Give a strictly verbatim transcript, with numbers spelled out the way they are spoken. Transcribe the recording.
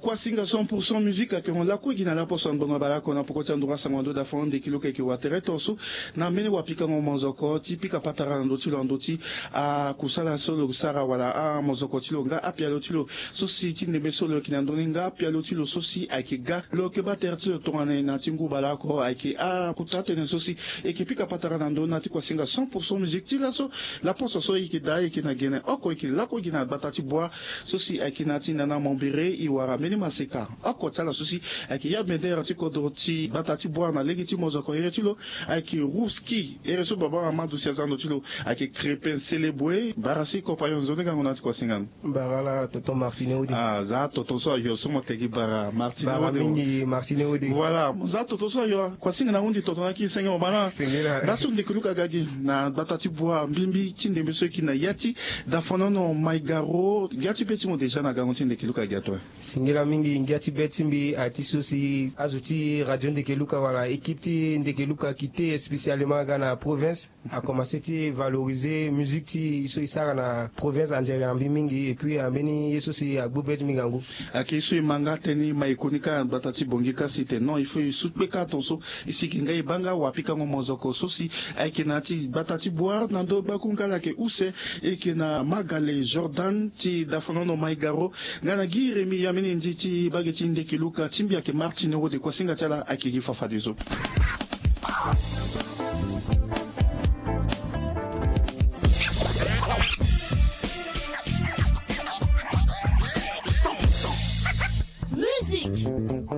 Kuasinga cent pour cent musique ayeke hon lakue gi na laposo ya ngbonga baleoko na poko ti anduru asango na ndö dafo ande kilo keke watere tonso. Na mbeni wapikango mozoko ti pika patara na ndö ti lo na ndö ti akusala so lo sara wala amozoko ti lo nga apialo ti lo so si ti ndembe so lo yeke na ndö ni nga apialo ti lo so si ayeke ga lo yeke baa tere ti lo tongana na ti ngu baleoko ayeke akuta tënë so si e yeke pika patara na ndö na ti kuasinga cent pour cent musique ti laso. Laposo so e yeke daa e yeke na gene oko e yeke lakue gi na gbata ti bua so si ayeke na ya ti nana mombere e wara mbeni maseka oko ti ala so si ayeke ya bendere ti kodro ti gbata ti bua na lege ti mozoko here ti lo ayeke ruski here so baba amadu si aza na ndo ti lo ayeke krepe nselebue bara si kopayon nzoni gango na ti kuasinga ni. Bara ala tonton martine ode. Ah, za tonton so ayo so mo tegi bara martine ode. Bara mingi martine ode. Voilà mo za tonton so ayo kuasinga na hundi tonton na ki senge mo bana. Sengela. Nda so ndeke luka ga gi na gbata ti bua mbimbi ti ndembe so e yeke na ya ti dafonono maigaro. Gia ti be ti mo déjà na gango ti ndeke luka gi ato. Singila mingi ngia ti be ti mbi aye ti so si azo ti radio ndeke luka wala équipe ti ndeke luka kite spécialement aga na province akomanse ti valoriser musique ti so e sara na province andiere na mbi mingi et puis ambeni ye so si agbu be ti mbi ngangu. Ayeke ye so e ma nga tënë e ma e koni kâ na gbata ti bongi kasi e tene non il faut e su kpe kâ tonso. E sigi nga e baa nga wapikango mozoko so si ayeke na ya ti gbata ti bua na ndö gbaku nga ala yeke use e yeke na magale jordan ti dafonono maigaro nga na gi remi ya mini ndi ti bage ti ndeke luka ti mbi ayeke martine wode kuasinga ti ala ayeke gi fafadeso. Musique.